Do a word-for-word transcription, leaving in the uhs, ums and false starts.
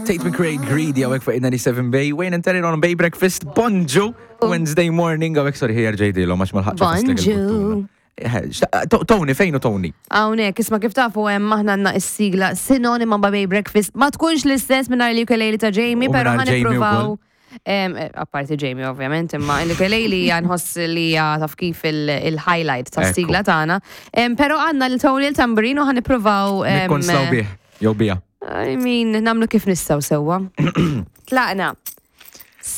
Tate McRae, Greedy, hawnhekk fuq ninety-seven Bay, Wayne and Terry on Bay Breakfast, bonġu, Wednesday morning, hawnhekk, sorry, ħi ġejdilhom għax ma lħaqtx. Bonġu. Tony, fejnu Tony? Hawnhekk, isma', kif tafu hemm aħna għandna is-sigla sinonima ma' Bay Breakfast. Ma tkunx l-istess mingħajr l-ukulele ta' Jamie, U pero mingħajr ħa Jamie nippruvaw. Ukoll. Em, eh, Apparti Jamie, ovvjament, imma l-ukulele hija nħoss li hija taf kif il- il-highlight ta' Ekku. sigla tagħna. Em, Pero għandna l-Tony il-tamburin u ħa nippruvaw. em, Nikkonslaw bih, jew bija. I mean, nagħmlu kif nistgħu sewwa. Tlaqna.